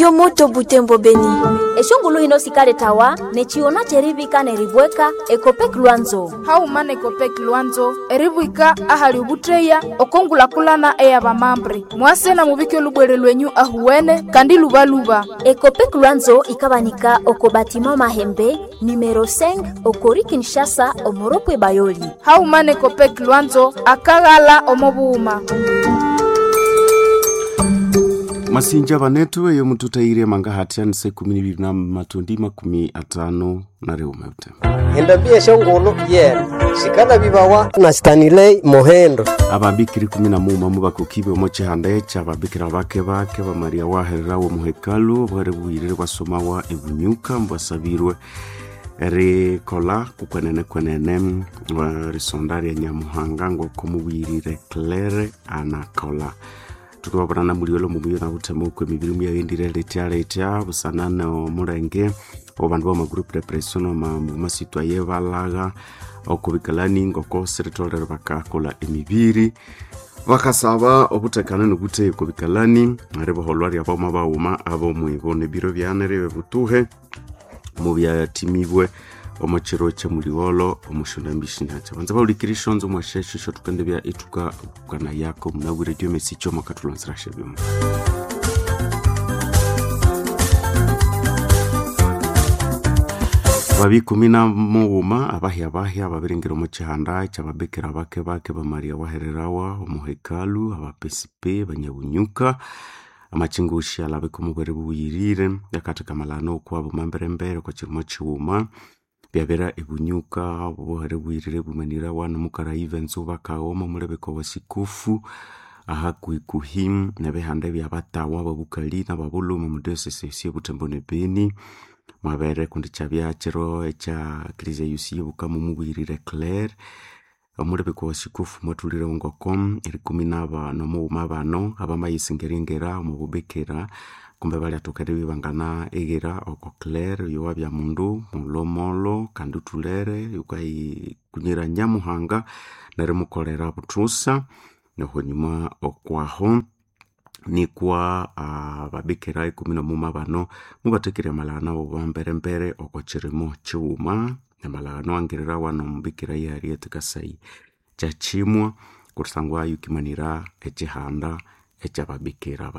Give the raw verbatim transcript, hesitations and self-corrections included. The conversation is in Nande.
Yo moto Butembo Beni. Eshongulu hino sikaletawa nechiona cherivika neribweka Ekopek Lwanzo. Hauma nekopek Lwanzo eribwika ahali ubutreya okongulakulana eyabamambre mwase na mubike olubwere lwenyu ahuwene kandi lubaluba. Ekopek Lwanzo ikabanika oko batima Mahembe numero cinq okori Kinshasa omoropwe Bayoli. Hauma nekopek Lwanzo akaghala omobuuma. Masinja banetu eyo mututaire manga hatiani se kumi n'ibiri na matundi makumi atano na riume ute Endambi eshongolo yena sikala bibawa na Stanley Mohendo. Ababikiri kumi na muma mubakokibe omo chihanda echa ababikira bake bake ba Maria wahererawo muhekalu bwere bwirire bwasomawa ebunyuka mbwasabirwe rikola kukwenene kwenene risonda rya Nyamuhanga ngoko mubwirire Claire anakola tukababonana muliolo mumuyo nabutema okwe mibiri muyayendire letya letya busanana omulenge obandu bama group depression omasitwaye balaga okubikalani ngoko siritolere bakakola emibiri bakasaba obutekano nobuteyi okubikalani riboholwa ryaboma baghuma abomwibo nebiro byane ribe butuhe mubyatimibwe omukiro kyemuliwolo omushundambishinatya banza baulikira ishonzo mwashesho isho tukendebya ituka bukana yako munabwire diomesi choma katulonzerashe byuma. Babi kumi na mughuma abahya bahya ababiringira omu kihanda kyababikira bake bake ba Maria wahererawa omuhekalu abapesipe banyabunyuka amachingushi alabika omubwere bubuyirire yakatheka amalano okwabo mamberembere okwa kirimo kighuma byabera ebunyuka obuhere bwirire bumanira wano mukaraiva enzuba kaghoma omulebeko wasikufu ahakuhikuhi nebihanda ebyabatawa ababukali nababuluma omudiocese esi ebutembo ne Beni mwabere kundi kyabya kiro ekya eklezia yosi yebukama omubwirire Claire omulebeko wasikufu mwathulire ngoko erikumi nabano mughuma bano abamayisingerengera omububikira kumbe balyathoka eribya ibangana ighira oko Claire oyo wabya mundu mulhomolho kandi uthulere yukayikunyira Nyamuhanga nerimukolera buthusa nohonyuma okwaho nikwa ababikira ikumi nomuma bano mubathekirya amalhano wamberembere oko kirimo kighuma amalhano angirira wano omubikira ye Harriet Kasai Kyakimwa kusangwa yukimanira ekihanda ekyababikira.